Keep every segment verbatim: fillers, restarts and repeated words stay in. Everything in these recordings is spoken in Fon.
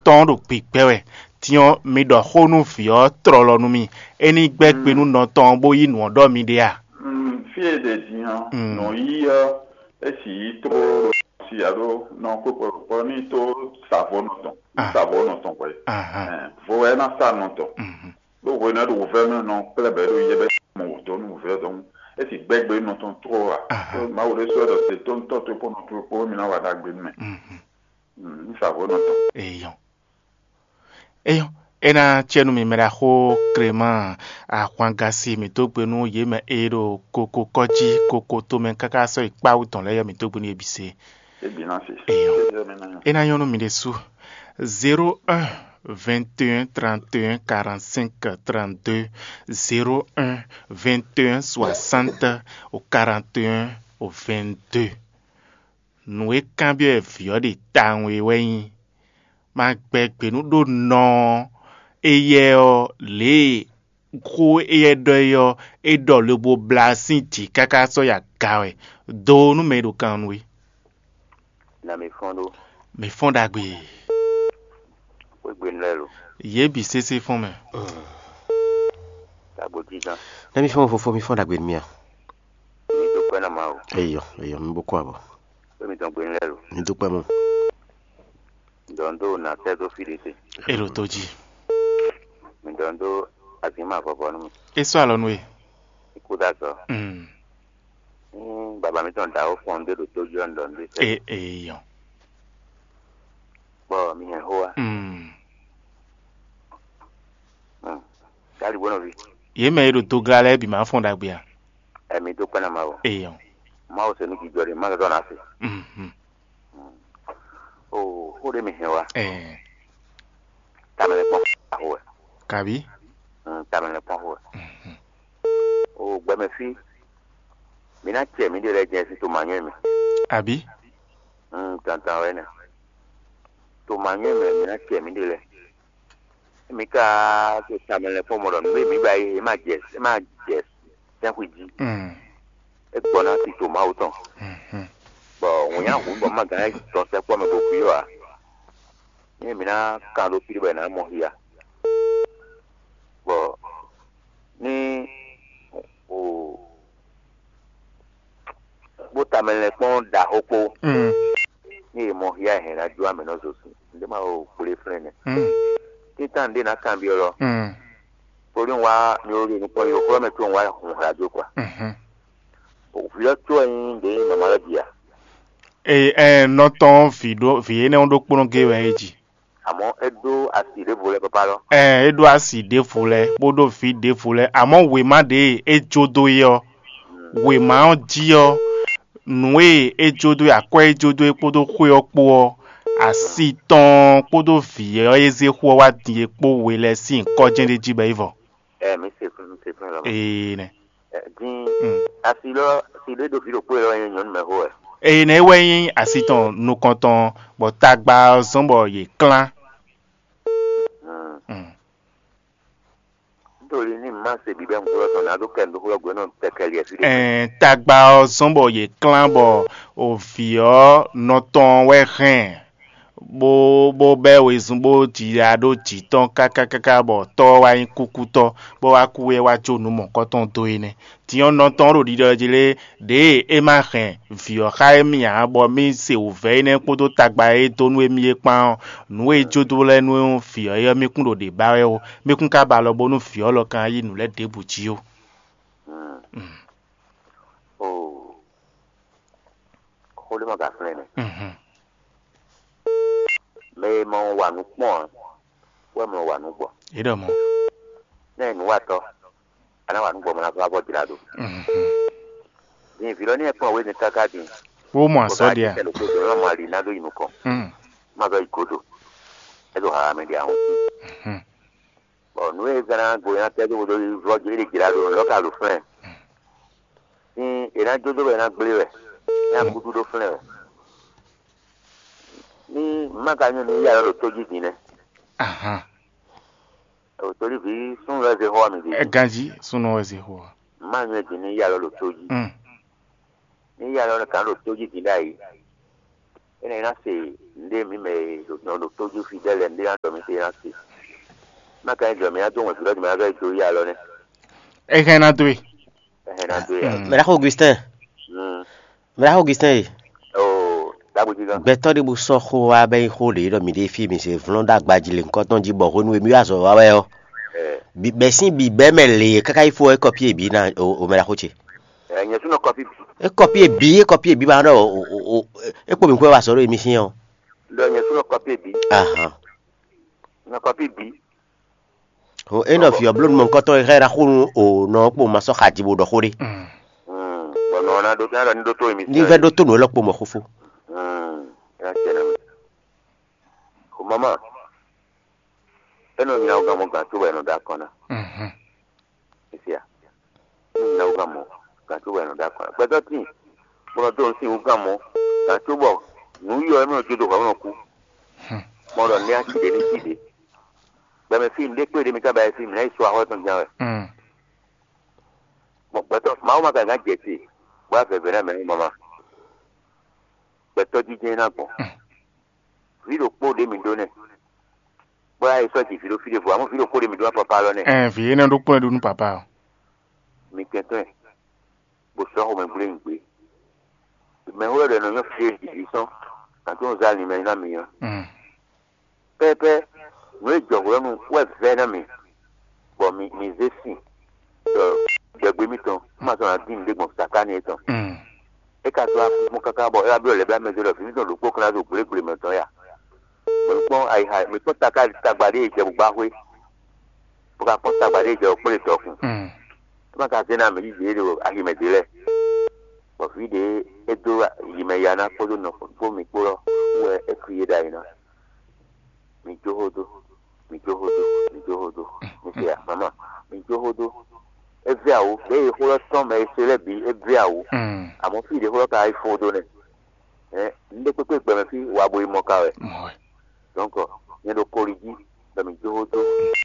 tɔn ɖo gbigbɛ wɛ. Din ɔ́, mi ɖɔ xó nú vǐ ɔ́ tlɔlɔ nú mì. É ní gbɛ́ gbe nú nɔ tɔn ɔ́ bó yí nǔ ɔ́ ɖɔ mi ɖe a? Mm, fí e ɖe din ɔ́, Mm. nǔ yí ɔ́, é sì yí tlóló si alo nɔ kpókpó kpó ní tó savɔnɔ tɔn, Ah. savɔnɔ tɔn hwɛ. Ahan. Ɛn, vo wɛ ná sa nɔ tɔn. Mhm. Ɖó hwenu e ɖo wǔvɛ́ mɛ nɔ kplɛ́ bɔ é ɖo yɛ bɛ mɔ wǔ dó nú wǔvɛ́ dɔn. É sì gbɛ́ gbe nɔ tɔn tló a? Ahan. Ɖó Mawu ɖé sɔ́ ɖɔ te tó ntɔ́ tó kpó nɔ tó kpó mi ná wa ɖagbe nú mɛ. Mhm. Mm, ní savɔnɔ tɔn. Eyɔn. Eyɔn. É ná cɛ nú mi mɛ ɖaxó Clément Ahwangasi mǐ dó gbe nú yě mɛ e ɖo koko kɔ́ jí koko tomɛ káká sɔ́ yi kpá wú tɔn lɛ́ɛ yɔ mǐ dó gbe nú yě bǐ se. Eyɔn. É ná nyɔ́ nú mi ɖésú. Zéro un, vingt et un, trente et un, quarante-cinq, trente-deux, zéro un, vingt et un, soixante, au quarante et un, au vingt-deux. Nǔ e kanbyɔ́ wɛ vǐ ɔ́ ɖe tawun é wɛ nyí: ma gbɛ gbě nú ɖó nɔ ɔ́, éyɛ́ ɔ́, lě e xó éyɛ́ ɖɔ é ɔ́, é ɖɔ lobo blá sín jǐ káká sɔ́ yi aga wɛ. Do nú mɛ e ɖo kan nú we. Nǎ mi fɔ́n ɖó. Mǐ fɔ́n ɖagbe. Xwégbenu lɛ́ɛ lo. Yě bǐ sésé fɔ́n mɛ. Tagbo jínjɔ́n. Nɛ́ mi fɔ́n fofó mi fɔ́n ɖagbe nú mì a? Mi dó kpɛ́ ná Mawu. Eyɔ, eyɔ, mi bo kó abɔ. Xwé mitɔn gbenu lɛ́ɛ lo. Mi dó kpɛ́ mɔ. Dɔn dó nà tɛ́ dó fí ɖé te. É ɖo tó jí. Mi dɔn dó azǐnma vɔvɔ nú mi. É sɔ́ alɔ nú we. Ikú dá sɔ. Mm. Ní baba mitɔn dǎwó fɔn ɖé ɖo tó jí ɔ́, un ɖɔ nú ɖé sɛ́. É eyɔ. Bɔ mi hɛn xó wá. Mm. Gali bó nɔví. Yě mɛ e ɖo dogla lɛ́ɛ bǐ ma fɔn ɖagbe a? Ɛmi dó kpɛ́ ná Mawu. Eyɔ. Mawu se nú jijɔ ɖé, má zɔzɔ ná se. Mhm. O xó ɖé mi hɛn wá. Ɛɛ. Tamɛ lɛ kpɔn xó wɛ. Kabi. Mm, tamɛ lɛ kpɔn xó wɛ. Mhm. O gbɛmɛ fí. Mi ná cɛ mǐ ɖe lɛ́ɛ jɛ́n sín to manyɔ mɛ. Abi. Mm, tantan wɛ nɛ. To manyɔ mɛ mi ná cɛ mǐ ɖe lɛ́ɛ. Mi ka to tamɛ lɛ kpɔn mɔ ɖɔ nǔ e mǐ ba é, é má jɛ, é má jɛ sɛ́nxwi jí. Mm. É gbɔ ná tito Mawu tɔn. Mhm. Bɔ wǔnyá hǔn bɔ má gǎn tɔn sɛkpɔ́ mɛ bo fí ɔ́ ǎ. Ní mǐ ná kan ɖó fí bɔ è nǎ mɔ xia. Bɔ ní o bó tamɛ lɛ́ kpɔ́n ɖaxó kpó. Mm. Ní è mɔ xia hɛn ná jó amɛ nɔ zo sin. Ndé ma o kplé flɛ́n nɛ. Mm. Títàn ɖé ná kanbyɔ́ lɔ. Mm. Torí un wá mi ó ɖe nukpɔ́n yi xlɔ́ mɛ có un wá hun hla jó kwa. Mhm. Vǐ ɔ́ có wɛ nyí ɖě nyí mama lɛ́ bia. Ee, ɛɛ, nɔ tɔn vǐ ɖó vǐ énɛ́ ɔ́ ɖokpónɔ gé wɛ é ji. Àmọ́ é ɖó asi ɖěvo lɛ́ pápá lɔ. Ɛɛ, é ɖó asi ɖěvo lɛ́, bó ɖó vǐ ɖěvo lɛ́, àmọ́ wěma ɖě e é jó dó é ɔ́, wěma ɔ́ jí ɔ́, nǔ e é jó dó é, akwɛ́ e é jó dó é kpódó xwé ɔ́ kpó ɔ́, asi tɔn kpódó vǐ ɔ́ e zé xú ɔ́ wá din é kpó we lɛ́ɛ sín nyǐkɔ jɛ́n ɖé jí bɔ é vɔ. Ɛ mi se fún mi se fún lɔ. Ee nɛ. Ɛ, dín Mm. Asi lɔ si ɖé ɖo vǐ ɖokpó lɔ nyí nyɔ̌nu mɛ xó wɛ. Ee nɛ é wɛ nyí asi tɔn nukɔntɔn bɔ tagba ɔ́ zɔ́n bɔ yě klán. Mm. Mm. Nítorí ní má se bíbẹ́ ŋkúlɔ tɔn ná ɖó kɛ ŋdóxó lɔ gbé nɔ tɛkɛliɛ fí ɖé. Ɛɛ, tagba ɔ́ zɔ́n bɔ yě klán bɔ o vǐ ɔ́ nɔ tɔn wɛ hɛn bó bó bɛ́ wezun bó ji ya ɖó jǐ tɔn káká káká bɔ tɔ́ ɔ́ wá nyí kúkútɔ́, bó wá kú é wá jó nǔ mɔ̌kɔtɔn dó é nɛ́. Din ɔ́, nɔ tɔn ɔ́ ɖo ɖiɖɔ jí lé ɖěe é ma hɛn vǐ ɔ́ xá émí ǎ, bɔ mí se wǔvɛ́ énɛ́ kpódó tagba e é dó nú émí é kpán ɔ́, nǔ e é jó dó lɛ́ɛ nú vǐ ɔ́ é ɔ́, mí kún ɖo ɖě ba wɛ ó. Mí kún ka ba alɔ bónú vǐ ɔ́ lɔ ka yí nǔ lɛ́ɛ ɖěbǔ jí ó. Mm. Oo. Xó ɖé ma ka flɛ́n nɛ. Mhm. Mɛ e ma wa nǔ kpɔ́n ǎ, wɛ mlɔ wa nǔ gbɔ. É ɖɔ mɔ̌. Nɛ́ nǔwatɔ́, a nǎ wa nǔ gbɔ mɔ ná vá vɔ jlá ɖo. Mhm. Din vǐ lɔ ní ɛ kplɔ́n wězinkaka din. Wó mɔ azɔ̌ ɖe a? Kɛ ɖokpó dɔn, má mɔ ali ná ɖó yi nukɔn. Mm. Má vɛ yi godo. É ɖo haha mɛ ɖe ahɔn. Mhm. Bɔ nǔ e zán ná go ná tɛ́ dó vodó vlɔ́ jí é ɖe jlá ɖo lɔ̌ ka ɖo flɛ́n. Ní è nǎ jó dó wɛ è nǎ gblé wɛ, é ná gúdú ɖó flɛ́n wɛ. Ní má ka nyɔ́ ní yá lɔ ɖo tó jí din nɛ́. Ahan. Ò torí vǐ súnnu lɛ́ɛ zé xó wá mi ɖě. Ɛ ganjí súnnu wɛ zé xó wá. Má nyɔ́ din ní yá lɔ ɖo tó jí. Mm. Ní yá lɔ gǎn ɖo tó jí din ɖ'ayǐ. Énɛ́ ná se Nǔɖé mǐ mɛ e ɖo nɔ ɖo tójú fí ɖé lɛ́ɛ nǔɖé ná ɖɔ mì xwé ná se. Má ka nyí jɔ mǐ ná dó wɛn vǐ lɔ́ mǐ ná vɛ́ dó yá lɔ nɛ́. É hɛn ná dó e. Ɛ hɛn ná dó yá. Mm. Mɛɖaxó Augustin. Mm. Mɛɖaxó Augustin e. Oo, ɖagbo jí gán. Gbɛtɔ́ ɖé bó sɔ́ xó wá bɛ́ nyí xó ɖě ɖɔ mǐ ɖe fí mǐ se vlɔ́n ɖó agbaji lě ŋkɔtɔn jí bɔ hwenu e mǐ wá azɔ̌ wa wɛ ɔ́, Ɛ, bi bɛ́ sín bi bɛ́ mɛ lě káká yi fó ɔ́, é kɔpí e bǐ ná o o mɛɖaxó ce. Ɛ, nyɛ súnɔ kɔfí bǐ. É kɔpí e bǐ é kɔpí e bǐ ba ɖɔ o o o é kpo mǐ kú wɛ wá azɔ̌ ɖo émi sín ɔ́. Ɖɔ nyɛ súnɔ kɔfí bǐ. Ahan. Nɔ kɔfí bǐ. O é nɔ vǐ ɔ́ bló nú mɔ̌hunkɔtɔn e xá ɛ ná xo nú o nɔ ɔ́ kpo ma sɔ́ xaji bó ɖɔ xó ɖé. Mm. Bɔ nɔ ɔ́ ná ɖó ná ɖɔ ní ɖótó émi. Ní vɛ́ ɖótó nǔ élɔ́ kpo mɔ̌ xófó. Mm. É ná tiɛ nɔ mì. O mama. É nɔ nyina wú gan mɔ gan tó bɔ é nɔ ɖó akɔn ná. Mhm. Esia. É nɔ nyina wú gan mɔ gan tó bɔ é nɔ ɖó akɔn ná. Gbɛtɔ́ tíin. Bó nɔ dó nǔ sin wú gan mɔ gan tó bɔ nǔ yɔ é mɛ nɔ jó do hɔn é mɛ nɔ kú. Hmm. Mɔ ɖɔ ní asi ɖě ní sí ɖě. Gbɛmɛ fí nǔɖé kpé ɖě mi ka ba yɛ fí mi ná yi so axɔ́ tɔn gán wɛ. Mm. Bɔn gbɛtɔ́ Mawu ma ka gán jɛ te bó wá vɛvɛ ná mɛ ní mama. Gbɛtɔ́ jijɛ ná gbɔn. Mm. Vǐ ɖokpó ɖě mi ɖó nɛ́. Bó yá yi sɔ́ ji vǐ ɖó fí ɖěvo, amɔ̌ vǐ ɖokpó ɖě mi ɖó wá papa lɔ nɛ́. Ɛn vǐ énɛ́ ɖokpó wɛ ɖó nú papa ɔ́. Mi kɛntɔ́ ɛ, bó sɔ́ xomɛ gblé nyi gbé. Mɛ wɛ ɖɔ nɔ nyɔ́ fí e jǐ sɔ́n, gǎn tó ń zá linmɛ ná mi ɔ́. Mm. Pɛ́pɛ́, nǔ e jɔ hwlɛ́nu wɛ vɛ́ ná mi, bɔ mi mi zé sin ɖɔ gbɛgbé mitɔn, má sɔ́ ná dín nǔɖé gbɔn sakáni étɔn. Mm. É ka dó afúnfún káká bɔ é wá byɔ́ lɛ̌ bla mɛ dó ɖɔ vǐ mitɔn ɖokpó kan ná ɖo gblégblémɛ tɔn ya. Mǐ kpɔ́n ayixa, mǐ kpɔ́n taká tagba ɖé e jɛ bó gbá xwé, bó ka kpɔ́n tagba ɖé e jɛ bó kplé dɔkun. Mm. É ma ka zé ná mǐ yí yě ɖo aximɛ ɖě lɛ́ɛ. Bɔ vǐ ɖě é dó yi mɛ ya ná kpódó nɔ kpó mǐ kpó lɔ wɛ é kú yé ɖ'ayǐ ná. Mi jó xó dó, mi jó xó dó, mi jó xó dó. Mi se ya, mama, mi jó xó dó. É vɛ́ awo, ɖěe xó lɔ tɔn mɛ e se lɛ́ɛ bǐ é vɛ́ awo. Mm. Àmọ́ fí ɖě xó lɔ ka yi fó dó nɛ́. Ɛ, un ɖe kpékpé gbɛmɛ fí wa bo yi mɔ ka wɛ. Mɔ wɛ. Donc, nyɛ ɖo koli jí, bɔ mi jó xó dó,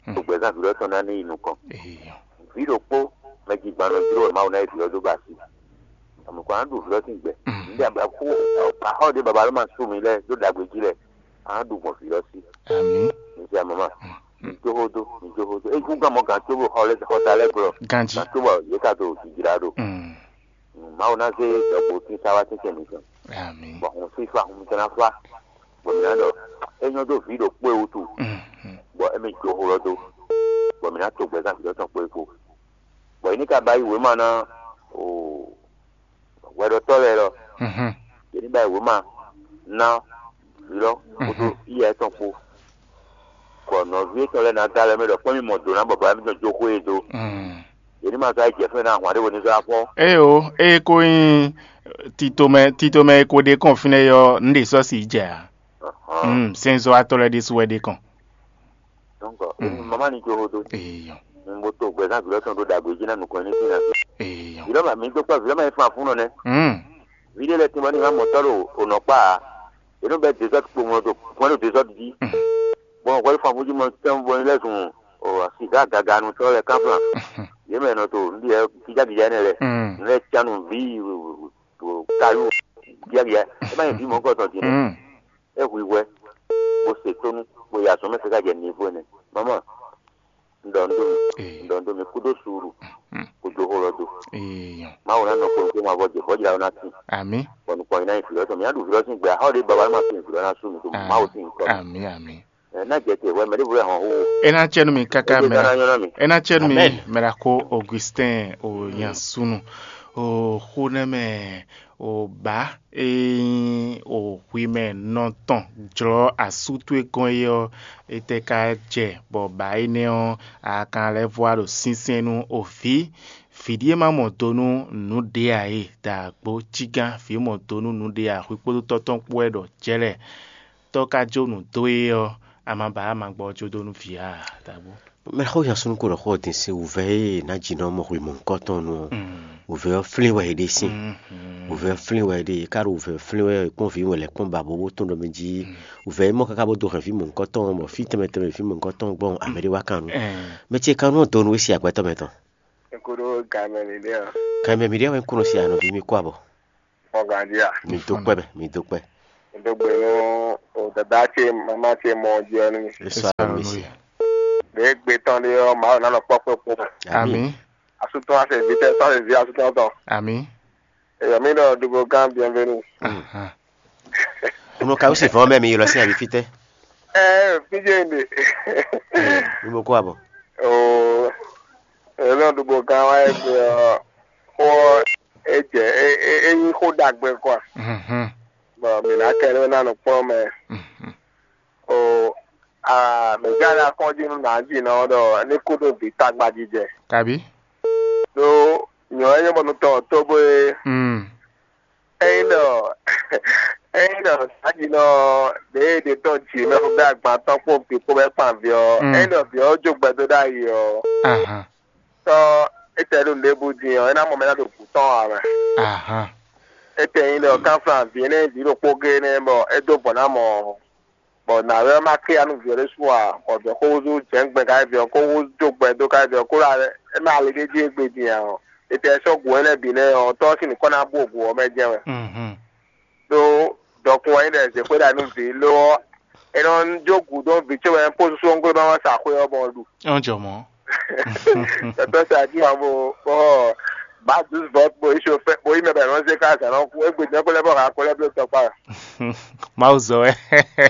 Mm. ɖo gbɛzán vǐ lɔ tɔn ná ní yi nukɔn. Eyo. Vǐ ɖokpó mɛ jigban nɔ jló wɛ Mawu ná yi vǐ lɔ dó ba asi. Àmọ́ kó ná ɖu vǐ lɔ sín gbɛ. Mm. Un ɖe abakú axɔ ɖé baba ló ma sú mi lɛ dó ɖagbe jí lɛ, a ná ɖu gbɔn vǐ lɔ sí. Ami. Mi se ya mama. Mm. Mi jó xó dó, mi jó xó dó. É kú gán mɔ gǎn tó bó xɔ lɛ xɔta lɛ glɔ. Ganji. Gǎn tó bɔ yě ka tó jijra ɖo. Mm. Mawu ná zé ɖɔkpó tín sá wá tɛ́ntin mǐtɔn. Ami. Bɔ hun fífá hun tɛn ná fá. Bɔ mǐ ná ɖɔ é nyɔ́ dó vǐ ɖokpó e wútu. Mm. Mm. Bɔ émí jó xó lɔ dó. Bɔ mǐ ná to gbɛzán vǐ lɔ tɔn kpó é kpó. Bɔ yě ní ka ba yí wěma ná o hwɛɖɔtɔ́ lɛ́ɛ lɔ. Mhm. Yě ní ba yí wěma ná vǐ lɔ kpódó Mhm. yíyá étɔn kpó. Bɔ nɔví étɔn lɛ́ɛ ná dó alɔ mɛ ɖɔ kpɔ́n mì mɔ dǒ ná bɔ baba mǐtɔn jó xwé e dó. Mm. Yě ní ma zɔ́ ayǐ jɛ fɛ́n ná ahwan ɖé wo ní zɔ́ afɔ. Ée o, ée ko nyí titomɛ titomɛ e ko ɖe kɔn fínɛ́ yɔ, nǔ ɖě sɔ́ si jɛ ǎ. Ahɔn. Mm, sɛnzɔ́watɔ́ lɛ́ɛ ɖésú wɛ ɖe kɔn. Donc, Mm. mama ní jó xó dó. Eyɔ. Mo to gbɛzán vǐ lɔ tɔn ɖó ɖagbe jí ná nukɔn ní fínɛ́. Eyɔ. Vǐ lɔ ma mi dó kpɔ́ vǐ lɔ ma yi fún afúnɔ nɛ́. Mm. Vǐ ɖé lɛ́ɛ tínbɔ ní ma mɔ tɔ́ ɖo onɔkpá ǎ. Yě nɔ bɛ dezɔ́d kpo mɔ ɖo kpɔ́n ɖo dezɔ́d jí. Mm. Bɔn hwɛ́ fún afúnjí mɔ tɛ́nbɔ ní lɛ́ zun o siga gaganutɔ́ lɛ́ɛ kánflan. Mm. Yě mɛ nɔ to nǔɖiɖɛ gíjágíjá énɛ́ lɛ́ɛ. Mm. Nǔ lɛ́ɛ cánu ví kayú gíjágíjá. É má nyɛ vǐ mɔ̌kɔ tɔn din nɛ́. Mm. É hu i hwɛ, bó se tónú, bó yi azɔ̌ mɛ káká jɛ nivo ɛnɛ. Mama, un ɖɔ nǔ dó mi, Ee. un ɖɔ nǔ dó mi, kú dó suuru, Mm. kú dó xó lɔ dó. Ee. Mawu ná nɔ kpɔn kpɔn ma vɔ jɛ, vɔ̌ jla ná tín. Ami. Bɔ nukɔn yi ná yi vǐ lɔ tɔn, mi ná ɖu vǐ lɔ sín gbɛ, axɔ ɖé baba má tín vǐ lɔ ná sú mi dó Ah. Mawu sín nukɔn. Ami ami. Ɛ ná jɛ te hwɛ mɛ ɖěvo lɛ hɔn xó. É ná cɛ nú mi káká Ebe mɛ ná nyɔ́ ná mi. É ná cɛ nú mi Amen. Mɛ ɖo ko Augustin o nyansunu o xó nɛ mɛ o ba e nyí o hwi mɛ nɔ tɔn jlɔ́ asú towe gɔ́n é ɔ́, é tɛ́ ka jɛ bɔ ba énɛ́ ɔ́ a ka lɛ́ vɔ wá ɖo sínsɛ́n nú o vǐ. Vǐ ɖíe ma mɔ do nú nǔɖé ǎ e da agbo cígán vǐ mɔ do nú nǔɖé ǎ hwi kpódó tɔ́ tɔn kpó wɛ ɖɔ jɛ́lɛ. Tɔ́ ka jó nǔ dó é ɔ́, a ma ba a ma gbɔ jó dó nú vǐ ǎ, dǎgbó. Mɛ xó nya súnnu ko ɖɔ xó ɔ́ din sín wǔvɛ́ e nǎ jǐ nɔ mɔ hwi mɔ̌hunkɔtɔn nu ɔ́, Mm. wǔvɛ́ ɔ́ flín wɛ é ɖe sín. Mhm. Wǔvɛ́ ɔ́ flín wɛ é ɖe, é ka ɖo wǔvɛ́ ɔ́ flín wɛ é kpɔ́n vǐ wɛ lɛ́ kpɔ́n ba bó bó tún ɖɔ mɛ jí wǔvɛ́ é mɔ káká bó dó hɛn vǐ mɔ̌hunkɔtɔn ɔ́, bɔ fí tɛnmɛ tɛnmɛ vǐ mɔ̌hunkɔtɔn ɔ́ gbɔn amɛ ɖé wá kan nu. Ɛn. Mɛ ce kan nú ɔ́ donu é si agbɛtɔ́ mɛ tɔn. Ekoɖo gamɛ mi ɖe ɔ. Kan mɛ mi ɖe wɛ kúnɔ si anɔ bí mi kó abɔ. Ɔganja. Mi dó kpɛ mɛ, mi dó kpɛ. Ɖó gbe nú o dada ce mama ce mɔ jí ɔ́ nú mi. Ɖě gbe tɔn ɖé ɔ́, Mawu ná nɔ kpɔ́ kpé kpó. Amǐ. Asú tɔn wá se vǐ tɛ́ sɔ́ se vǐ asú tɔn tɔn. Amǐ. Eyɔ mi ɖɔ ɖubo gán bienvenue. Ahan. Unu ka wúsi vɔn mɛ mi ylɔ sín ayi fítɛ́? Ɛ fíjé ɖe. Nubo kó abɔ. Oo. Elɔn ɖubo gán wá egbe ɔ́, xó ɔ́, é jɛ é é é nyí xó ɖagbe kɔ. Mhm. Bɔ mǐ ná kɛ ɖó ná nɔ kplɔ́n mɛ. Mhm. O a mǐ gán ná kɔn jí nú nǎ jí nɔ ɖɔ ní kú ɖó vǐ tagba jijɛ. Kabi. Ɖó nyɔ̌ é nyɔ́ bɔ nú tɔn tóbó é. Mm. Ényí ɖɔ ényí ɖɔ nǎ jí nɔ ɖě e ɖě tɔn jǐ mɛ xó bɛ́ agban tɔn kpó vǐ kpó bɛ́ kpan vǐ ɔ́, Mm. Ényí ɖɔ vǐ ɔ́ jó gbɛdó ɖ'ayǐ ɔ́, Ahan. Tɔ́ étɛ́ ɖo nǔɖé bú din ɔ́, é ná mɔ mɛ ná ɖo gǔ tɔn ǎ mɛ. Ahan. Étɛ́ nyí ɖɔ kánflán vǐ énɛ́ vǐ ɖokpó géé nɛ́ bɔ é dó vɔ̌ ná mɔ, bɔ nǎwe ɔ́ má ké ya nú vǐ ɔ́ ɖésú ǎ, bɔ vǐ ɔ́ xó húzú jɛ̌ngbɛ́n káyí vǐ ɔ́ kó húzú jó gbɛ dó káyí vǐ ɔ́ kó ɖo é mɛ ali ɖé jí égbé din ǎ ɔ́, étɛ́ sɔ́ gǔ énɛ́ bǐ nɛ́ ɔ́, tɔ́ ɔ́ sín nǔ kɔ́ ná bú gǔ ɔ́ mɛ jɛ́n wɛ. Mhm. Ɖó dɔkun wɛ nyí ɖɔ è zě xwé ɖa nú vǐ lo ɔ́, é nɔ jó gǔ dó vǐ ce wɛ pó súsú ɔ́ gblé bá wá sa xwé ɔ́ bɔ ɖu. Ɔ́n jɔ mɔ̌. Tɔtɔ sa jí ma bo bɔ ba douze vɔt bo yi so fɛ bo yi mɛ bɛ nɔ zé ká zan nɔ kú égbé jɛ kó lɛ bɔ ha kó lɛ bló tɔkpa. Mawu zɔ wɛ.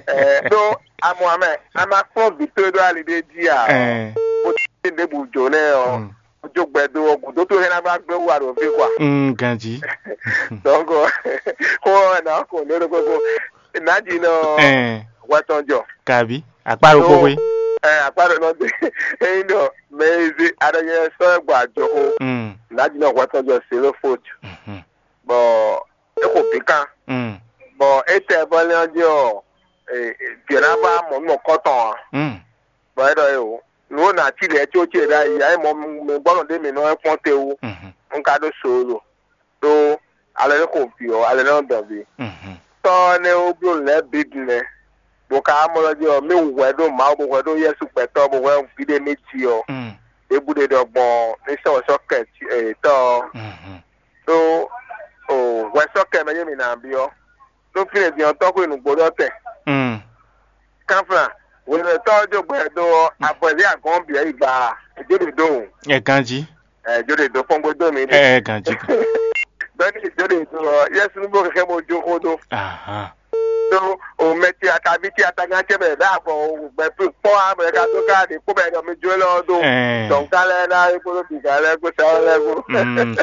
Ɛ ɖó amɔ amɛ ama kplɔn vǐ towe ɖó ali ɖé jí a Ɛn. Bó ti ɖe bu jǒ nɛ ɔ Mm. Jó gbɛ dó ɔ gǔdó towe hɛn ná bá gbé wú aɖo fí kwa. Mm, ganji. Donc xó ɔ nà kó lóɖo kókó nà jí nɔ Ɛn. Hwɛ tɔn jɔ. Kabi. Akpa ɖo kókó. Ɛ akpa ɖo nɔ dé eyin ɖɔ mɛ e zé aɖɔnyɛ sɔ ɛ gbɔ ajɔxó Mm. Nǎjínɔ hwɛtɔn jɔ Selofot Mhm. Bɔ é xo bǐ kan Mm. Bɔ é tɛ vɔ́ lɛ́n ɔ́ jí ɔ́, vǐ ɔ́ ná vá mɔ nú mɔ̌kɔ́tɔn ǎ. Mm. Bɔ é ɖɔ é o, nǔ e nǎ cí lɛ́ɛ có ce ɖ'ayǐ ǎ, é mɔ mi gbɔ́ nɔ ɖé mǐ nɔ wɛ kpɔ́n te wú, Mhm. Un ka ɖó solo, ɖó alɔ é xo vǐ ɔ́, alɔ é nɔ dɔn vǐ. Mhm. Tɔ́ ɔ́ nɛ́ ó bló nǔ lɛ́ɛ bǐ din mɛ, bó ka wá mɔ lɔ jí ɔ́, mì hwɛ ɖó Mawu, bó hwɛ ɖó Yɛsu gbɛtɔ́, bó hwɛ vǐ ɖé mì jí ɔ́, Mm. Ɖěbǔ ɖé ɖɔ gbɔn ní sɔ́ wɛ sɔ́ kɛ tɔ́ ɔ́. Mhm. Ɖó o hwɛ sɔ́ kɛ mɛ yé mǐ ná byɔ́. Ɖó fínɛ́ din ɔ́, tɔ́xwé nǔgbó ɖɔ tɛn. Mm. Kánflán, hwelɛ́tɔ́ ɔ́ jó gbɛ dó ɔ́, avɔ̌ zé agɔ̌n bǐ ɔ́ yi gba, è jó ɖě dó o. Ɛ ganjí. Ɛ jó ɖě dó kpɔ́ngbó dó mǐ ɖe. Ɛ ganjí. Bɛ́ni è jó ɖě dó ɔ́, Yɛsu ní bó xixɛ́ bó jó xó dó. Ahan. Ɖó o mɛ ce ataví ce atagán ce mɛ bɛ avɔ gbɛ kpɔ́ a mɛ ka dó ká ɖě kpó bɛ ɖɔ mi jó lɔ dó. Ɛɛ. Dɔnka lɛ ná é kpódó bǐgá lɛ kpó sɛ lɛ kpó. Mm.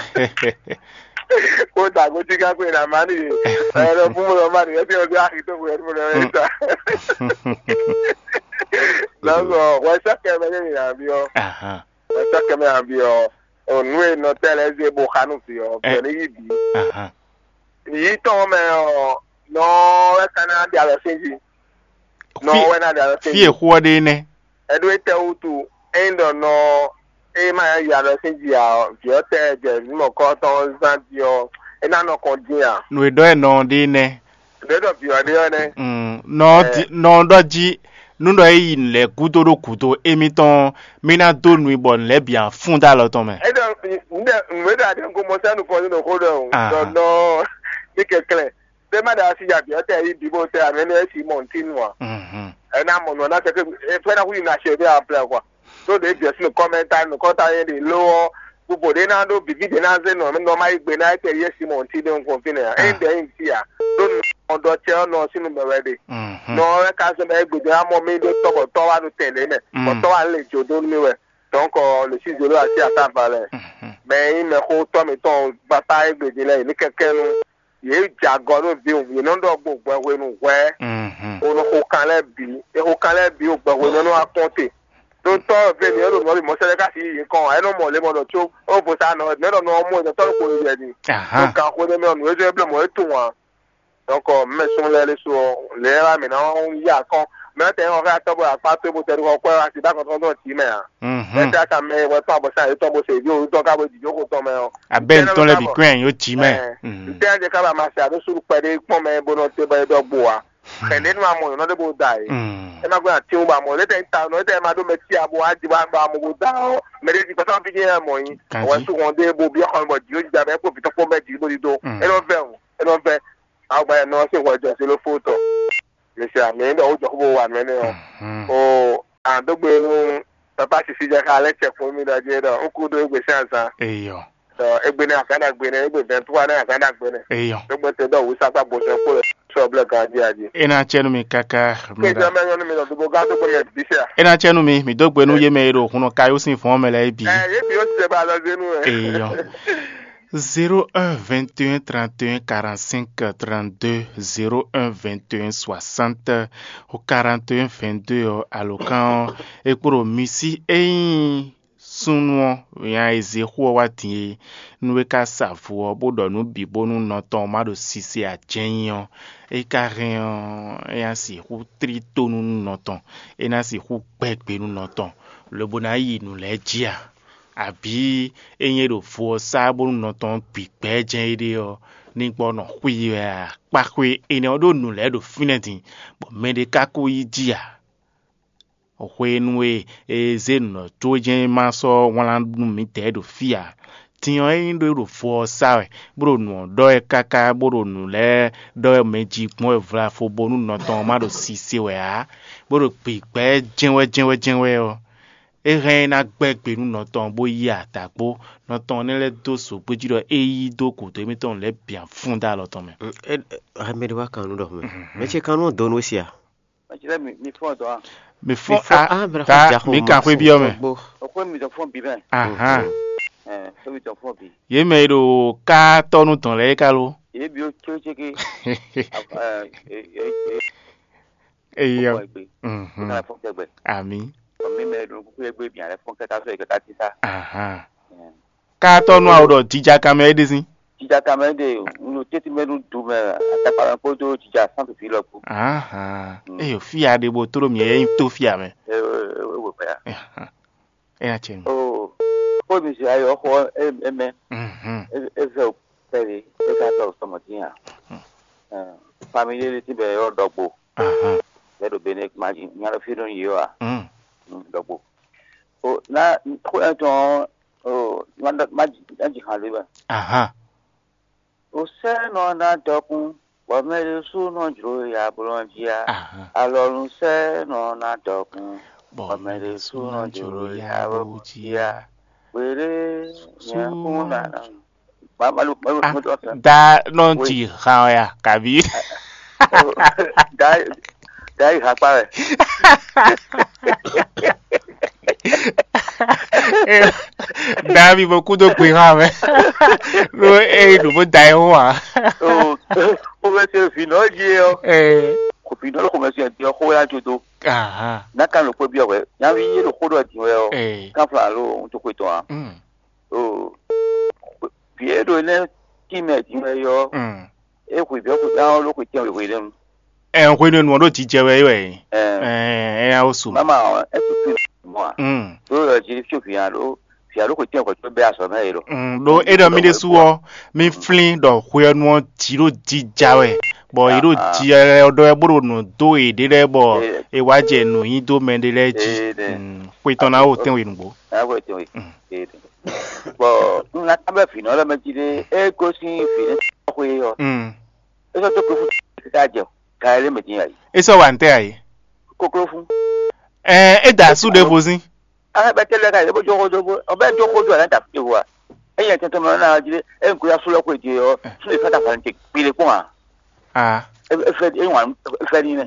Kó dàgbò tí ká kó ìlànà má nìyí. Ẹ lọ fún mi lọ má nìyí. Ẹ ti ọdún àkìtó kò yẹ kó lọ ẹ ta. Lọ́sọ̀ wọ́n sọ́kẹ́ mẹ́ ní ìlànà bí ọ. Ahan. Wọ́n sọ́kẹ́ mẹ́ àbí ọ. Ònú ènà tẹ́lẹ̀ ẹ zé bó xánú fi ọ. Ẹ. Bẹ̀rẹ̀ ní yí bì. Ahan. Yìí tɔn mɛ ɔ, nɔ ɛ ka ná ɖe alɔ sín jí. Nɔ Fí wɛ ná ɖe alɔ sín fí jí. Èxú ɔ́ ɖe nɛ́. Ɛɖó étɛ́ wútu? Ényí ɖɔ nɔ é ma yi alɔ sín jí ǎ ɔ́, vǐ ɔ́ tɛ jɛ vǐ mɔ̌kɔ́tɔn zán jí ɔ́, é ná nɔ kɔn dín ǎ. Nǔ e ɖɔ ɛ nɔ ɖe nɛ́. Ɖě ɖɔ vǐ ɔ́ ɖe ɔ́ nɛ́. Mm, nɔ Ɛ. Di- nɔ ɖɔ jí nú ɖɔ é yi nǔ lɛ́ɛ gúdo ɖó gǔdo émítɔn ɔ́, mí ná dó nu i bɔ nǔ lɛ́ɛ bǐ ná fún dó alɔ tɔn mɛ. É ɖɔ nǔɖe nǔ e ɖɔ aɖé ŋgo mɔ sɛ́ nukɔn nú nɔ xó ɖɔ o. Ahan. Ɖɔ nɔ ní kɛnklɛ́n. Ɖé má ɖa asi ya bǐ ɔ́ tɛ yi bǐ bó tɛ amɛ nú é si mɔ ntí nu ǎ. Mhm. Ɛ ná mɔ nɔ ná kɛkɛ ɛ fẹ́ ná hu yi na ṣe bí a plɛ kɔ. Ɖó ɖě bǐ ɔ́ sín nukɔn mɛ ta nukɔn ta yé ɖe ló ɔ́, bubo ɖé ná ɖó bǐbí ɖé ná zé nɔ nɔ má yi gbe ná é tɛ yé si mɔ ntí ɖé ŋkɔn fínɛ́ ǎ. É Ah. Ɖɛ yi ntí ǎ. Ɖó nɔ ɖɔ tɛ ɔ́ nɔ sín nu mɛ wɛ ɖe. Mhm. Nɔ ɔ́ wɛ ka zɔn bɔ é gbe ɖé ná mɔ mí ɖó tɔ́ bɔ tɔ́ wá ɖo tɛn ɖě mɛ. Bɔ Mm. Tɔ́ wá lé jǒ dó nú mí wɛ. Donc le six zéro asi ata valɛ. Mhm. Mɛ e nyí mɛxótɔ́ mǐtɔn gbata égbé din lɛ́ɛ, yě ní kɛkɛ́ nú yě jɛ agɔ nú vǐ, yě nɔ ɖɔ gbo gbɛ hwenu hwɛ̌. Mhm. O nɔ xo kan lɛ́ɛ bǐ, e xo kan lɛ́ɛ bǐ o gbɛ hwenu nɔ wá kpɔ́n te. Ɖó tɔ́ ve mǐ e ɖo nǔ ɔ́ bǐ mɔ sɛ́ lɛ́ɛ ka si yí yě kɔn ǎ, é nɔ mɔ lě mɔ ɖɔ có ó vo sa nɔ, mɛ ɖɔ nɔ ɔ́ mɔ è nɔ tɔ́ ɖo kpo yɛ din. Ɖó Ahan. Gan xwé nɛ́ mɛ ɔ́, nǔ e zɔ́n é bló mɔ̌ é tunwun ǎ. Donc mɛ súnnu lɛ́ɛ ɖésú ɔ́, lě e wá mǐ ná yí akɔ́n. Mɛ tɛ nyí xɔ xá tɔ́ bɔ akpá towe bó tɛ ɖo xɔ kwɛ wá sí ɖó akɔn tɔn tɔn jǐ mɛ ǎ. Mhm. Mɛ tɛ aka mɛ wɛ tɔn abɔ̌sán yětɔn bó se vǐ òwú tɔn ká bó jǐ jókòó tɔn mɛ ɔ́. Abɛ́ ntɔn lɛ́ɛ bǐ kɔn yó jǐ mɛ. Ntɛ́ jɛ ká ba ma se àdó súɖu kpɛɖé kpɔ́n mɛ bó nɔ te bɔ é ɖɔ gbo ǎ. Xɛ̌ ɖé nú amɔ nyɔ̌nɔ ɖé bó da yě. É má gbé ati wú ba mɔ, létɛ ta nɔ, létɛ ma ɖó mɛ tí a bó wá jí wá gba amɔ bó da ɔ́, mɛ ɖé jí gbɛtɔ́ fí jẹ́ mɔ yín. Ganjí. Wɛ sú hɔn dé bó byɔ́ xɔ bɔ jǐ ó jí da bɛ kpó vǐtɔ́ kpó bɛ jǐ bó ɖi dó. Mm. É nɔ vɛ o, é nɔ vɛ. Awu gba yɛ nɔ ɔ́ sín hwɛ jɔ zélo fó tɔn. Mi se amǐ ɖɔ wó jɔ xó bó wa nǔ énɛ́ ɔ́. O, a dó gbe nú papa sisi jɛ xá lɛ́ cɛ kpɔ́n mì ɖɔ jí ɖɔ un kú ɖó égbé sín azán. Eyɔ. Ɖɔ égbé nɛ́ azán ɖagbe nɛ́, égbé vɛntúwa nɛ́ azán ɖagbe nɛ́. Eyɔ. Dó gbe te ɖɔ wǔ sákpá bo sɛn kpó lɛ sɔ blɛ ganjí ají. É ná cɛ nú mi káká. Kéjɔ mɛ nyɔ́ nú mi ɖɔ dó bó gán dó gbe mɛ bǐ sɛ. É ná cɛ nú mi, mi dó gbe nú yé mɛ e ɖo hunnɔ kayó sín vɔ̌n mɛ lɛ́ɛ bǐ. Ɛ yé bǐ ó ti sɛ ba alɔ zé nú ɛ. Eyɔ. Zéro un vingt et un trente et un quarante-cinq trente-deux, zéro un vingt et un soixante quarante et un vingt-deux ɔ́, alǒkan ɔ́, é kpo ɖo mi sí. Ényí súnnu ɔ́, nya e zé xó ɔ́ wá din é, nú é ka sa vo ɔ́, bó ɖɔ nǔ bǐ bónú nɔ tɔn ɔ́ má ɖo sise ǎ jɛ́n nyí ɔ́, é ka hɛn ɔ́, é ná sixú tlí tó nú nɔ tɔn, é ná sixú gbɛ́ gbe nú nɔ tɔn, lobo ná yi nǔ lɛ́ɛ jí a? Abǐ ényí é ɖo vo ɔ́ sá bónú nɔ tɔn ɔ́ gbi gbɛ̌ jɛ́n éɖée ɔ́, ní gbɔ nɔ xwí wɛ a? Kpaxwe énɛ́ ɔ́ ɖó nǔ lɛ́ɛ ɖo fínɛ́ din, bɔ mɛɖé ka ko yi jí ǎ. Hwenu e è zé nǔ ɔ́ có jɛ́n ma sɔ́ wlán nú mǐdɛɛ ɖo fí ǎ. Din ɔ́, ényí ɖó ɖo vo ɔ́ sá wɛ, bó ɖo nǔ ɔ́ ɖɔ wɛ káká, bó ɖo nǔ lɛ́ɛ ɖɔ wɛ mɛ jí gbɔn wɛ vlafo bónú nɔ tɔn ɔ́ má ɖo sise wɛ ǎ, bó ɖo gbigbɛ jɛ́nwɛ jɛ́nwɛ jɛ́nwɛ ɔ́, é hɛn ɔ́ é ná gbɛ́ gbe nú nɔ tɔn bó yí adǎgbó. Nɔ tɔn ɔ́ nɛ́ lɛ́ dó zǒgbéjí ɖɔ é yí dó gǔdo émítɔn lɛ́ɛ bǐ ǎ fún dó alɔ tɔn mɛ. Mɛ ɖé wá kan nú ɖɔ mɛ. Mɛ ce kan nú dɔn nú we sia. Mɛ ce lɛ́ɛ mi fɔ́n dɔn a? Mi fɔ́n a ta mi kan xwé byɔ́ mɛ. Gbó. Oxwé mi dɔn fɔ́n bǐ mɛ. Ahan. Ɛ, xwé mi dɔn fɔ́n bǐ. Yě mɛ e ɖo ká tɔ́ nú dɔn lɛ́ɛ é ka lo. Yě bǐ ó có céké. Eyɔ. Kó fɔ gbe. Mhm. Kó ná fɔ kɛgbɛ. Ami. Ɔ, mi mɛ ɖo kúkú yɛ gbé bia lɛ fɔn kɛta sɔ yɛ kɛta tita. Ahan. Ká tɔ́ nú awo ɖɔ jija kan mɛ é ɖe sín. Jija kan mɛ ɖe nu teti mɛ nu du mɛ atakpa mɛ kpódó jija santu fi lɔ kpó. Ahan. Mm. Eyo fia ɖe bo tló mi e nyí tó fia mɛ. E e e wò pɛ ya. Ahan. É ná cɛ nú. O, kó mi si ayɔ xɔ e e mɛ. Mhm. E e vɛ o pɛli e ka tɔ sɔmɔ dín a. Famille ɖé ti bɛ yɔ ɖɔgbo. Ahan. Bɛ ɖo bene kuma dzi nya ɖo fi ɖo yi yɔ a. Mm. Ɖɔgbo. O na xó ɛtɔn o ma ma dzi ma dzi hàn lé bɛ. Ahan. O sɛ nɔ na dɔkun bɔ mɛ ɖé sú nɔ jlo ya blɔ jí a. Ahan. Alɔnu sɛ nɔ na dɔkun bɔ mɛ ɖé sú nɔ jlo ya blɔ jí a. Gbede nyɛ kún na. Malu malu malu dɔ sɛ. Da nɔ ti hàn ɔ ya kabi. Da da yi hàn kpa wɛ. Davi bó kúdó gbe hàn mɛ. Ló é ɖo bó da ɛ wá. O bɛ se vǐ nɔ dzi ɔ. Ee. Kò vǐ nɔ ló kò mɛ se ɛ di ɔ xó wɛ ajo do. Ahan. N'a kan ló kpé biɔ wɛ. Nyavi yé ló xó ɖɔ di wɛ ɔ. Ee. Kan fla lo ŋutsu xwe tɔn a. Mm. O vǐ e ɖo énɛ́ tí mɛ din wɛ é ɔ́, é hwe vǐ ɔ́ xwetɛ́n ɔ́ ló xwetɛ́n wěhwe ɖé nu. Ɛ hwenu e nǔ ɔ́ ɖo jijɛ wɛ é wɛ é. Ɛ ɛ ɛ wosù. Mama ɔ́, é su fi mɔ a? Mm. Ɖó ɛ jí fí vǐ ǎ ɖó vǐ ǎ ɖó xwetɛ́n hwɛ̌ tó bɛ́ azɔ̌ mɛ é ɖɔ. Mm, ɖó é ɖɔ mì ɖésú ɔ́, mì flín ɖɔ hwe ɔ́ nu ɔ́ jǐ ɖo jija wɛ, bɔ yě ɖo ji ɛ ɖɔ wɛ bó ɖo nǔ dó yěɖée lɛ́ɛ bɔ è wá jɛ nǔ nyi dó mɛ ɖé lɛ́ɛ jí. Mm, xwe tɔn ná wo tɛ́nwe nǔgbó. Ná hwɛ tɔn e. Mm. Ee, bɔn un ná ká bɛ vǐ nɔ lɛ́ mɛ jí ɖé, é gosín vǐ nɛ́ xwe ɔ́, Mm. É sɔ́ dó kpé fún ká jɛ ká ɛ lé mɛ dín ayǐ. É sɔ́ wa ntɛ́ ayǐ. Kokló fún. Ɛ é da asú ɖěvo sín. Á bɛ tɛ́ lɛ́ ká yě bó jó xó dó bó ɔbɛ jó xó dó ɛ lɛ́ da fún ɖěvo a. É nyɛ tɛntɛn mɛ ɔ́ ná jí ɖé é un kúyá sú lɛ́ xwé jɛ ɔ́ sú lè fá da fǎn te kpé lé kpɔ́n a. A É é fɛ é wan é fɛ ní nɛ.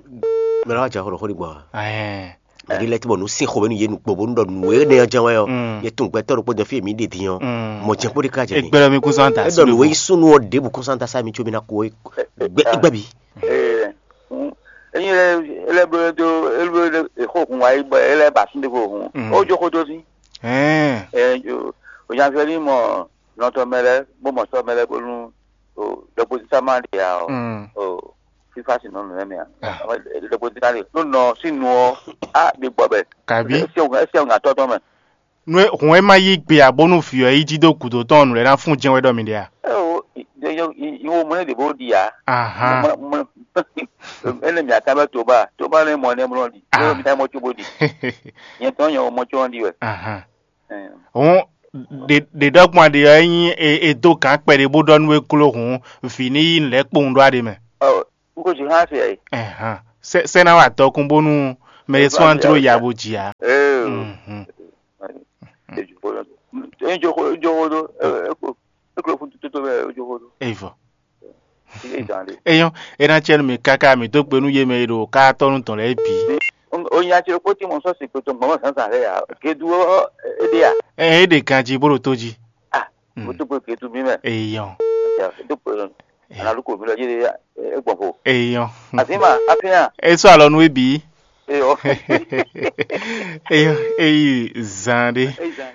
Mɛ lɔ wá jɛ xɔ ɖo xó ɖi gbɔn a. Ɛɛ. Mɛ ɖi lɛ ti bɔ nu sin xɔ bɛ nu ye nu kpo bonu ɖɔ nu ye ne jɛn wɛ ɔ. Mm. Ye tun gbɛtɔ ɖo kpɔdɔ fi mi ɖe din ɔ. Mm. Mɔ jɛn kpo ɖe ka jɛ. Egbɛlɛ mi kún sɔn ta. E ɖɔ nu ye sunu ɔ ɖebu kún sɔn ta sa mi tso mi na ko gbɛ gbɛ bi. Ee, mm, enyi lɛ ele blo do ele blo de exo kun wa yi bɔ ele ba sun de ko hun. Mm. O jo ko do si. Ɛɛ. Ɛ jo o jan fɛ ni mɔ nɔtɔ mɛ lɛ bo mɔ sɔ mɛ lɛ bonu o dɔkpo sisa ma de ya o. Mm. O fifa si nɔ nɔ mɛ a. Ah. Dɔkpo sisa de no nɔ si nu ɔ a de gbɔ bɛ. Kabi. Esi o esi o ŋa tɔ tɔ mɛ. Nú é hɔn é má yí gbe ǎ bónú vǐ ɔ́ yi jí dó gǔdo tɔn ɔ́, nǔ lɛ́ɛ ná fún jɛ́n wɛ ɖɔ mi ɖe a? Ɛ o, ìwọ mɔ ɛ ɖě bó ɖi ǎ. Ahan. Mɔ- mɔ- Ene mia ka bɛ to ba to ba ne mɔ ne mlɔ ɖi. Ah. Ne mi ta mɔ tso bo ɖi. Nyɛ tɔn nyɛ o mɔ tso ɖi wɛ. Ahan. Ɛɛ. Hɔn ɖe ɖe ɖɔgbɔn ɖe ɔ́ nyí e e dó gǎn kpɛɖé bó ɖɔ nú é gló hǔn vǐ ní yí nǔ lɛ́ɛ kpowun ɖó aɖe mɛ. Ɔ, n ko jí hã se ɛ. Ɛhán. Sɛ sɛ ná wà tɔkun bónú mɛ e sɔ́ andro ya bó jì á. Ee. Mhm. Ejo xo, ejo xo, ejo xo do. Eko, eko fún tutu mɛ ejo xo do. Evɔ. Iye jan de. Eyɔn, e ná cɛ nú mi káká mi dó gbe nú yé mɛ e ɖo ká tɔ́ nú tɔn lɛ́ɛ bǐ. O nya ce kpó tí mo sɔ́ si kpé tó gbɔn zǎnzǎn lɛ́ɛ ya. Gedu ɔ́, é ɖe ya. Ɛ é ɖe ganjí bó ɖo tó jí. Ah, mo tó gbé gedu mi mɛ. Eyɔn. Tó gbé. Analu ko mi lɔ yé é gbɔn fo. Eyɔn. Àti ma, àti yàn. É sɔ́ alɔ nú é bǐ. Eyɔn. Eyɔn, é yi zan ɖé.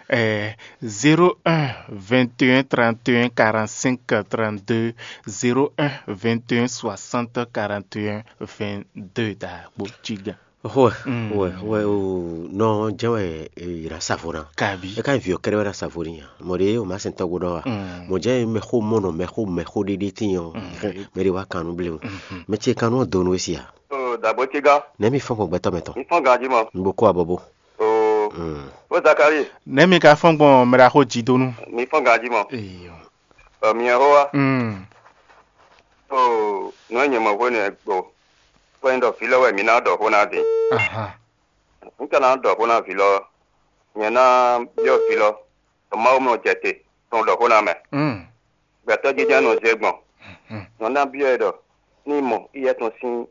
Ɛ zéro un vingt et un trente et un quarante-cinq trente-deux, zéro un vingt et un soixante quarante et un vingt-deux da kpo cí gán. Hwɛ, hwɛ, hwɛ o nɔ jɛ wɛ e yi na savo na. Kabi. E ka vi o kɛrɛ wɛ na savo ni ya. Mɔ de o ma sɛn tɔgbo dɔ wa. Mɔ jɛ mɛ xo mɔ nɔ mɛ xo mɛ xo ɖeɖe ti yɔ. Mɛ de wa kanu ble o. Mɛ ce kanu donu esi ya. Dabo ce gán. Nɛ mi fɔn gbɔn gbɛtɔ mɛ tɔn. Mi fɔn ganji mɔ. N bo ko abɔbo. Oo. O Zakari. Nɛ mi ka fɔn gbɔn mɛ da xo ji donu. Mi fɔn ganji mɔ. Eyɔ. Ɔ mi yɛ xo wa. Mm. Oo, nɔ nyɛ mɔ hwenu e gbo. Kpɛn ɖɔ vǐ lɔ wɛ mǐ ná ɖɔ xó ná din. Ahan. Un ka ná ɖɔ xó ná vǐ lɔ, nyɛ ná byɔ́ vǐ lɔ, ɖɔ Mawu mɔ jɛ te tɔn ɖɔ xó ná mɛ. Mm. Gbɛtɔ́ jínjɔ́n nɔ zé gbɔn. Mm. Nɔ ná byɔ́ ɛ ɖɔ, ní mɔ iyɛ tɔn sín,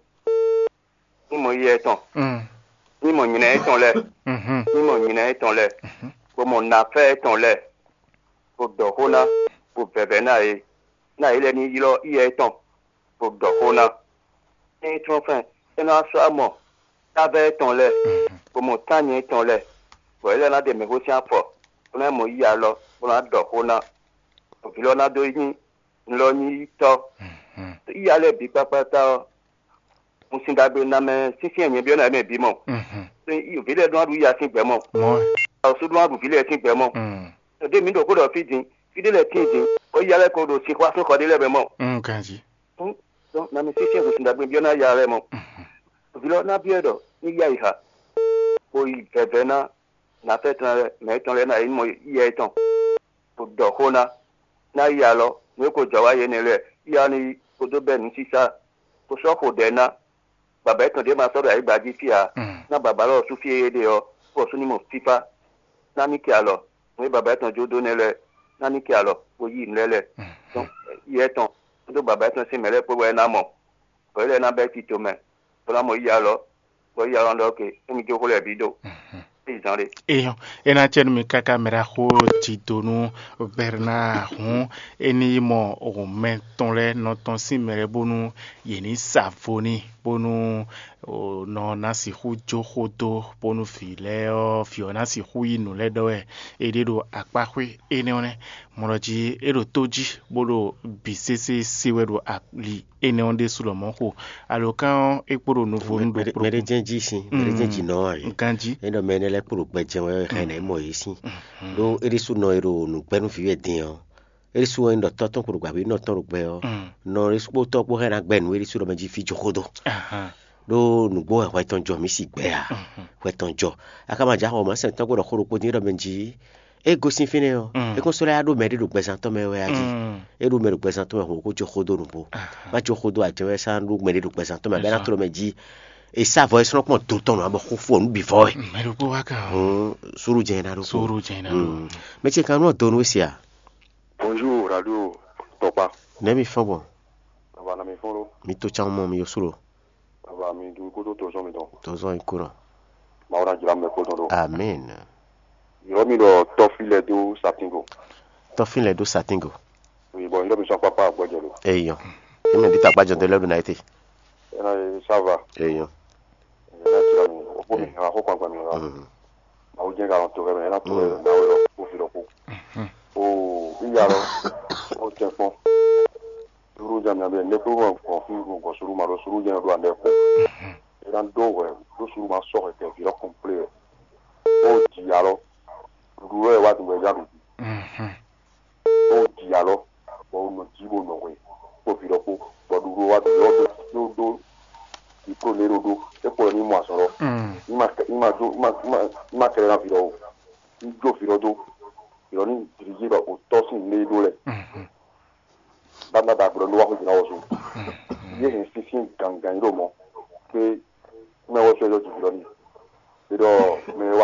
ní mɔ iyɛ tɔn, Mm. ní mɔ nyrɛ étɔn lɛ́ɛ, Mhm. ní mɔ nyrɛ étɔn lɛ́ɛ, Mhm. bó mɔ nafɛ́ étɔn lɛ́ɛ, bó ɖɔ xó ná, bó vɛvɛ ná yě, ná yě lɛ́ ní ylɔ́ iyɛ étɔn, bó ɖɔ xó ná. Ényí trɔ́nfɛn é nɔ wá sɔ́ mɔ tábɛ́ tɔn lɛ́ɛ, bó mɔ tánnyɛ tɔn lɛ́ɛ, bɔ yě lɛ́ ná ɖe mɛ̌xó sín afɔ, bó ná mɔ yí alɔ, bó ná ɖɔ xó ná. Vǐ lɔ ná dó nyí un lɔ nyí yítɔ́. Yíyá lɛ́ɛ bǐ kpákpátá ɔ́, un sin ɖagbe ná mɛ sínsɛ́n nyɛ byɔ́ ná mɛ bǐ mɔ. Vǐ lɛ́ɛ ɖó ná ɖu yíyá sín gbɛ̌ mɔ. Awǒsú ɖó ná ɖu vǐ lɛ́ɛ sín gbɛ̌ mɔ. Ɖěe mǐ ɖo xó ɖɔ fí din, fí ɖé lɛ́ɛ tíin din, bɔ yíyá lɛ́ɛ ko ɖo sin xwá sín xɔ ɖé lɛ́ɛ mɛ mɔ. Ganjí. Dɔn na mi sísɛ́n hǔn sin ɖagbe byɔ́ ná ya lɛ́ɛ mɔ. Vǐ lɔ ná byɔ́ ɛ ɖɔ ní yá yi ha, bó yi vɛvɛ ná nǎfɛ́ tɔn lɛ́ɛ, mɛ tɔn lɛ́ɛ ná yi mɔ yíyá yětɔn, bó ɖɔ xó ná, ná yi alɔ, nǔ e ko jɔ wá yě nɛ́ lɛ́ɛ, yíyá ní yi kpódó bɛ́ nǔsísá, bó sɔ́ xo ɖɛ̌ ná. Bǎbá yětɔn ɖě ma sɔ́ ɖo ayǐgba jí fí ǎ, ná bǎbá lɔ sú fí e é ɖe ɔ́, bó ɔ́ sú ní mɔ fífá, ná ní kɛ alɔ, nǔ e bǎbá yětɔn jó dó nɛ́ lɛ́ɛ, ná ní kɛ alɔ, bó yí nǔ lɛ́ɛ lɛ́ɛ. Dɔn yɛ tɔn kpódó bǎbá yětɔn sín mɛ lɛ́ɛ kpó wɛ é ná mɔ, bɔ é lɛ́ɛ ná bɛ́ tito mɛ, bó ná mɔ yíyá lɔ, bɔ yíyá lɔ ná ɖɔ óke, émí jó xó lɛ́ɛ bǐ ɖo. Éyi zán ɖé. Eyɔn, é ná cɛ nú mi káká mɛ ɖaxó Jidonu Bernard hǔn, é ní yi mɔ mɛ tɔn lɛ́ɛ nɔ tɔn sín mɛ lɛ́ɛ bónú yě ní sa vo n'i, bónú nɔ ná sixú jó xó dó, bónú vǐ lɛ́ɛ ɔ́, vǐ ɔ́ ná sixú yí nǔ lɛ́ɛ ɖɔ wɛ é ɖe ɖo akpáxwé énɛ́ ɔ́ nɛ́. Mɔ̌ jí é ɖo tó jí, bó ɖo bǐ sésé se wɛ ɖo ali énɛ́ ɔ́ ɖésú lɔmɔ̌ xo. Alǒkan ɔ́, é kpo ɖo nuvo nú ɖokpó. Mɛɖé jɛ́n jí sin, mɛɖé jɛ́n jí nɔ wá yě. Ganjí. É ɖɔ mɛ énɛ́ lɛ́ɛ kpo ɖo gbɛ jɛ́n wɛ ɔ́, xɛ nɛ̌ mɔ yě sín. Ɖó é ɖésú nɔ e ɖo nǔgbɛ́ nú vǐ wɛ din ɔ́, é ɖésú wɛ nyí ɖɔ tɔ́ tɔn kpo ɖo gbǎví nɔ tɔn ɖo gbɛ ɔ́, nɔ ɖésú kpó tɔ́ kpó xɛ ná gbɛ nǔ é ɖésú ɖɔ mɛ jí fí jó xó dó. Ɖó nǔgbó wɛ hwɛ tɔn jɔ mǐ si gbɛ ǎ. Hwɛ tɔn jɔ. A ka ma jǎ xɔ mǎ sɛn tɔn kpó ɖɔ xó ɖokpó dín é ɖɔ mɛ jí é gosín fínɛ́ ɔ́, é kún sɔ́ lɛ́ ɖó mɛ ɖé ɖo gbɛzán tɔn mɛ wɛ a jí? É ɖó mɛ ɖo gbɛzán tɔn mɛ hǔn kó jó xó dó nǔgbó. Má jó xó dó ajɛ wɛ sá ɖó mɛ ɖé ɖo gbɛzán tɔn mɛ bɔ é ná tló mɛ jí. È sá vɔ é sɔ́ kpɔn do tɔn nɔ abɔ xó fó nǔ bǐ vɔ wɛ. Mɛ ɖokpó wá kan. Hǔn súrú jɛ ná ɖó. Súrú jɛ ná ɖó. Mɛ ce kan nú ɔ́ donu é se a? Bonjour radio tɔkpa. Nɛ̌ mi fɔ́n gbɔn? Baba na mi fɔ́n ɖó. Mi to can mɔ mi yo sú lo. Baba mi dun kódó tozɔn mi dɔn. Tozɔn yi kúrò. Mawu na jira mɛ kpɔtɔn ɖo. Amen. Yɔrɔ mi ɖɔ tɔfi lɛ dó satingo. Tɔfi lɛ dó satingo. Oui, bon, yɔrɔ mi sɔn papa gbɔdɔ lo. Eyɔn. Emi di ta gbajɔ de lɛ do na ete. Ena ye sava. Eyɔn. Ena jira mi. O bo mi ha ko kwan gba mi ha. Mawu jɛ ka to kɛ mɛ, ena to kɛ mɛ, na wo ko fi lɔ ko. O iya lɔ. O tɛ kpɔn. Suru jɛ mi abɛ ne ko gɔn fi gɔn suru ma ɖo suru jɛ do andɛ ko. Ena do wɛ do suru ma sɔ kɛ vi lɔ kɔnplé. O ji alɔ. Ɖuɖu wɛ wa dun wɛ ya ɖu. Bó ji alɔ, bɔ wò nɔ jí bó nɔ hwe, kpó vǐ ɖɔkpó, bɔ ɖuɖu wa ɖu yɔ ɖó ɖó ɖó diplôme ɖó ɖó, é kpo ní mɔ azɔn lɔ. Ní ma ní ma jó ní ma ní ma ní ma kɛlɛ ná vǐ ɖɔ o. Ní jó vǐ ɖɔ dó, vǐ ɖɔ ní diriger bɔ o tɔ́ sín lé ɖó lɛ. Bá ná ba gbɔdɔ ní wá xwé jǐ ná wɔ so. Yě hɛn sínsín gǎngán ɖo mɔ̌ pé mɛ wɔ sɔ́ yɔ jǐjlɔ́ n'i. È ɖɔ mɛ e